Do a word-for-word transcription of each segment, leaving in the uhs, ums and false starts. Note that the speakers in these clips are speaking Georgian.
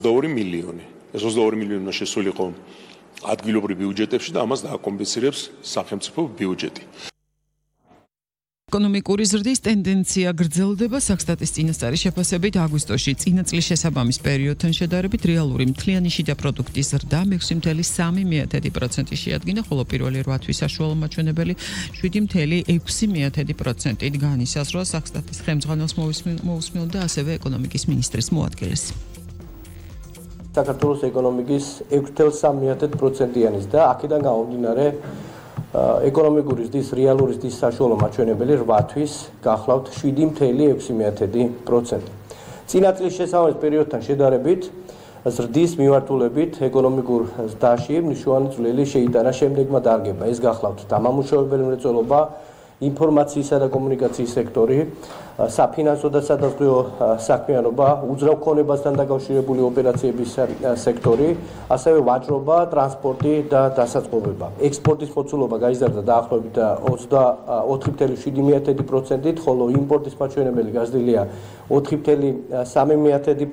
ოცდაორი მილიონი. ეს ოცდაორი მილიონი უნდა შესულიყო ადგილობრივ ბიუჯეტებში და ამას დააკომპენსირებს სახელმწიფო ბიუჯეტი. ეკონომიკური ზრდის ტენდენცია გრძელდება საქსტატის წინასწარი შეფასებით აგვისტოში წინა წლის შესაბამის პერიოდთან შედარებით რეალური მთლიანი შიდა პროდუქტის ზრდა მეექვსი წუთი სამი პროცენტი შეადგინა, ხოლო პირველი რვა თვის საშუალო მაჩვენებელი შვიდი წუთი ექვსი პროცენტით განისაზღვრა საქსტატის ხელმძღვანელს მოусმენდა ასევე ეკონომიკის მინისტრის მოადგილეს. საქართველოს ეკონომიკის ექვსი წუთი სამი პროცენტიანის და აქედან გამომდინარე ეკონომიკური ზრდის რეალური ზრდის საშუალო მაჩვენებელი რვა თვის გახლავთ შვიდი წუთი ექვსი პროცენტი. წინა წლის შესაბამის პერიოდთან შედარებით ზრდის მიმართულებით ეკონომიკურ ზრდაში მნიშვნელოვანი წვლილი შეიტანა შემდეგმა დარგებმა. ეს გახლავთ დამამუშავებელი მრეწველობა, ინფორმაციისა და კომუნიკაციის სექტორი, საფინანსო და სადაზღვევო საქმიანობა, უძრავ ქონებასთან დაკავშირებული ოპერაციების სექტორი, ასევე ვაჭრობა, ტრანსპორტი და დასაწყობება. ექსპორტის მოცულობა გაიზარდა დაახლოებით ოცდაოთხი წუთი შვიდი პროცენტით, ხოლო იმპორტის მაჩვენებელი გაზრდილია ოთხი წუთი სამი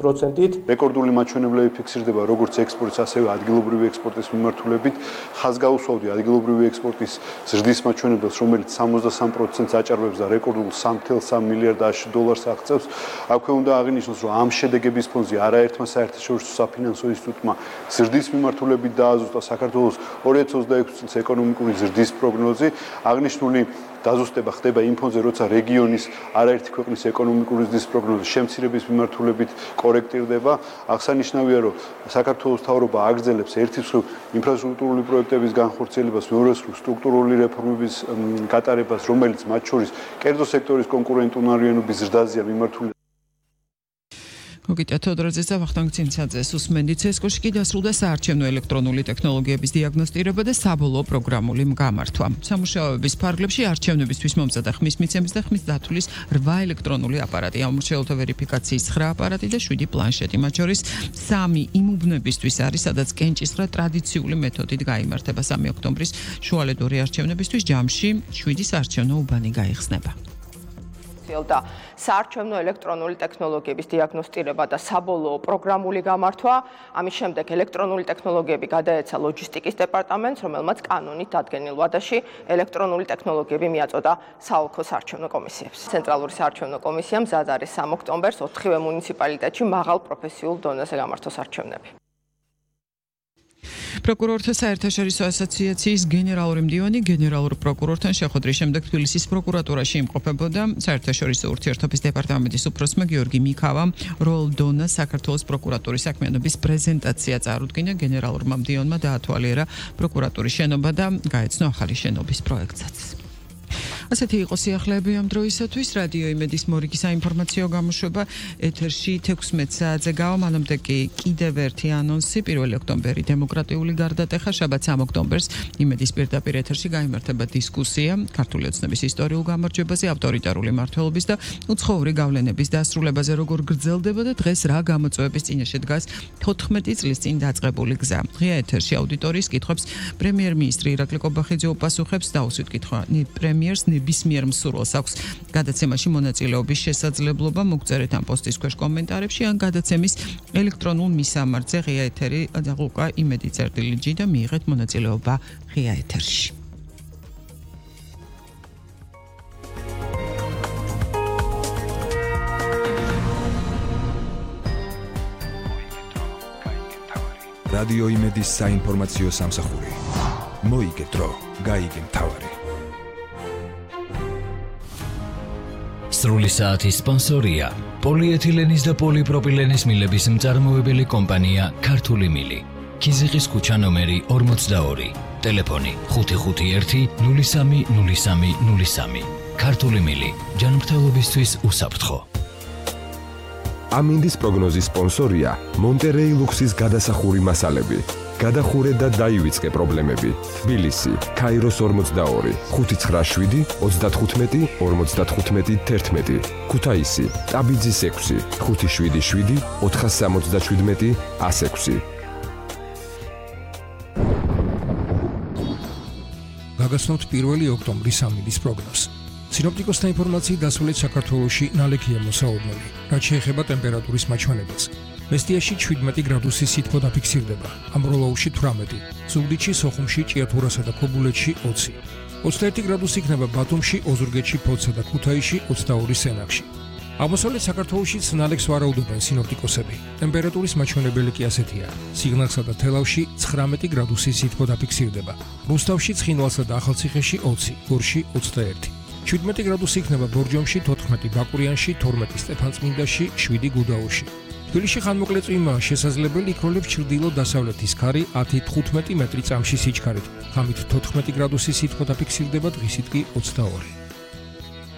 პროცენტით. რეკორდული მაჩვენებლები ფიქსირდება როგორც ექსპორტის, ასევე ადგილობრივი ექსპორტის მიმართულებით. ხაზგაუსვავდი ადგილობრივი ექსპორტის ზრდის მაჩვენებელს, რომელიც სამოცდასამ პროცენტს აჭარბებს და რეკორდულ სამი წუთი სამი მილიარდ დოლარს აღწევს. აქვე უნდა აღინიშნოს, რომ ამ შედეგების ფონზე არაერთმა საერთაშორისო საფინანსო ინსტიტუტმა ზრდის მიმართულებით დააზუსტა საქართველოს ორი ათი ოცდაექვსი წლის ეკონომიკური ზრდის პროგნოზი. აღნიშნული დაზუსტება ხდება იმ ფონზე, როცა რეგიონის არაერთი ქვეყნის ეკონომიკური ზრდის პროგნოზი შემცირების მიმართულებით კორექტირდება. აღსანიშნავია, რომ საქართველოს მთავრობა აგრძელებს ერთი მხრივ ინფრასტრუქტურული პროექტების განხორციელებას, მეორე მხრივ სტრუქტურული რეფორმების გატარებას, რომელიც მათ შორის კერძო სექტორის კონკურენტუნარიანობის ზრდაზეა მიმართული. გოგიტა თოდორაძეს და ვახტანგ ცინცაძეს უსმენდით. ცესკოში კი დასრულდა საარჩევნო ელექტრონული ტექნოლოგიების დიაგნოსტირება და საბოლოო პროგრამული გამართვა. სამუშაოების ფარგლებში არჩევნებისთვის მომზადა ხმის მიცემის და ხმის დათვლის რვა ელექტრონული აპარატი, ამორჩეულთა ვერიფიკაციის ცხრა აპარატი და შვიდი პლანშეტი. მათ შორის სამი იმ უბნებისთვის არის, სადაც კენჭისყრა ტრადიციული მეთოდით გაიმართება. სამი ოქტომბრის შუალედური არჩევნებისთვის ჯამში შვიდი საარჩევნო უბანი გაიხსნება. და საარჩევნო ელექტრონული ტექნოლოგიების დიაგნოსტირება და საბოლოო პროგრამული გამართვა. ამის შემდეგ ელექტრონული ტექნოლოგიები გადაეცა ლოჯისტიკის დეპარტამენტს, რომელმაც კანონით დადგენილ ვადაში ელექტრონული ტექნოლოგიები მიაწოდა საოლქო საარჩევნო კომისიებს. ცენტრალური საარჩევნო კომისია მზად არის სამი ოქტომბერს ოთხივე მუნიციპალიტეტში მაღალ პროფესიულ დონეზე გამართოს არჩევნები. პროკურორთა საერთაშორისო ასოციაციის გენერალური მდივანი გენერალურ პროკურორთან შეხვედრის შემდეგ თბილისის პროკურატურაში იმყოფებოდა. საერთაშორისო ურთიერთობის დეპარტამენტის უფროსმა გიორგი მიქავამ როლდონა საქართველოს პროკურატურის საქმიანობის პრეზენტაცია წარუდგინა. გენერალურმა მდივანმა დაათვალიერა პროკურატურის შენობა და გაეცნო ახალი შენობის პროექტსაც. ასეთი იყო სიახლეები ამ დროისათვის. რადიო იმედის მორიგი საინფორმაციო გამოშვება ეთერში თექვსმეტ საათზე გავა. მანამდე კი კიდევ ერთი ანონსი. პირველი ოქტომბერი დემოკრატიული გარდატეხა. შაბათ სამი ოქტომბერს იმედის პირდაპირ ეთერში გაიმართება დისკუსია ქართული ოცნების ისტორიულ გამარჯვებაზე, ავტორიტარული მმართველობის და უცხოური გავლენების დასრულებაზე, როგორ გრძელდება და დღეს რა გამოწვევების წინაშე დგას თოთხმეტი წლის წინ დაწყებული გზა. ღია ეთერში აუდიტორიის კითხვებს პრემიერ-მინისტრი ირაკლი კობახიძე უპასუხებს. დაუსვით კითხვა პრემიერს ნებისმიერ მსურველს აქვს გადაცემაში მონაწილეობის შესაძლებლობა. მოგწერეთ ამ პოსტის ქვეშ კომენტარებში ან გადაცემის ელექტრონულ მისამართზე ღია ეთერი დაღუყა იმედი წერტილი ჯი და მიიღეთ მონაწილეობა ღია ეთერში. რადიო იმედის საინფორმაციო სამსახური. მოიგე დრო, გაიგე მთავარი. სრული საათის სპონსორია პოლიეთილენის და პოლიპროპილენის მილების მწარმოებელი კომპანია ქართული მილი. ქიზიყის ქუჩა ნომერი ორმოცდაორი. ტელეფონი ხუთი ხუთი ერთი ნული სამი ნული სამი ნული სამი. ქართული მილი. ჯანმრთელობისთვის უსაფრთხო. ამინდის პროგნოზის სპონსორია მონტერეი ლუქსის გადასახური მასალები. გადახურე და დაივიწყე პრობლემები. თბილისი, ქაიროს ორმოცდაორი, ხუთი ცხრა შვიდი ოცდათხუთმეტი ორმოცდათხუთმეტი თერთმეტი. ქუთაისი, ტაბიძის ექვსი, ხუთი შვიდი შვიდი ოთხასამოცდაშვიდმეტი ას ექვსი. გაგაცნობთ პირველი ოქტომბრის ამინდის პროგნოზს. სინოპტიკოსთა ინფორმაციით დასავლეთ საქართველოში ნალექია მოსაოდნელი, რაც შეეხება ტემპერატურის მაჩვენებელს. მესტიაში შვიდმეტი გრადუსი სითბო დაფიქსირდება, ამბროლაურში თვრამეტი, ზუგდიდში, სოხუმში, ჭიათურასა და ქობულეთში ოცი. ოცდაერთი გრადუსი იქნება ბათუმში, ოზურგეთში, ფოთსა და ქუთაისში, ოცდაორი სენაკში. აღმოსავლეთ საქართველოშიც ნალექს ვარაუდობენ სინოპტიკოსები. ტემპერატურის მაჩვენებელი კი ასეთია: სიღნაღსა და თელავში ცხრამეტი გრადუსი სითბო დაფიქსირდება, რუსთავში, ცხინვალსა და ახალციხეში ოცი, გორში ოცდაერთი. შვიდმეტი გრადუსი იქნება ბორჯომში, თოთხმეტი ბაკურიანში, თორმეტი სტეფანწმინდაში, შვიდი გუდაურში. თბილისში ხანმოკლე წვიმაა შესაძლებელი, იქროლებს ჩრდილო-დასავლეთის ქარი ათი თხუთმეტი მეტრი წამში სიჩქარით. ღამით თოთხმეტი გრადუსი სითბო დაფიქსირდება, დღისით კი ოცდაორი.